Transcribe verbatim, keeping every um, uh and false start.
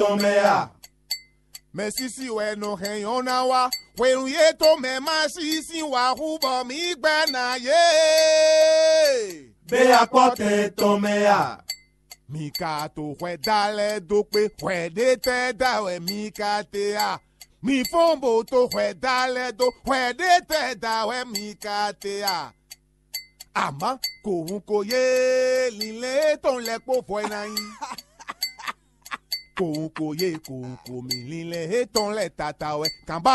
tɔn mɛ a? Mɛ sísí wɛ nɔ hɛn nyɔ́ ná wá. Hwenu yětɔn mɛ má sí sín wǎ hú bɔ mǐ gbɛ́ ná yě. Bé akpɔ́tɛn tɔn mɛ a? Mi ka to hwɛ da lɛ́ɛ dó kpé hwɛ ɖé tɛ́ da wɛ mi ka te a? Mi fɔ́n bó to hwɛ da lɛ́ɛ dó hwɛ ɖé tɛ́ da wɛ mi ka te a? Amɔ̌ kohun ko yé linlɛn étɔn lɛ́ kpó vɔ ɛ ná nyí. Kohun ko yé kohun ko mì linlɛn étɔn lɛ́ tata wɛ kanba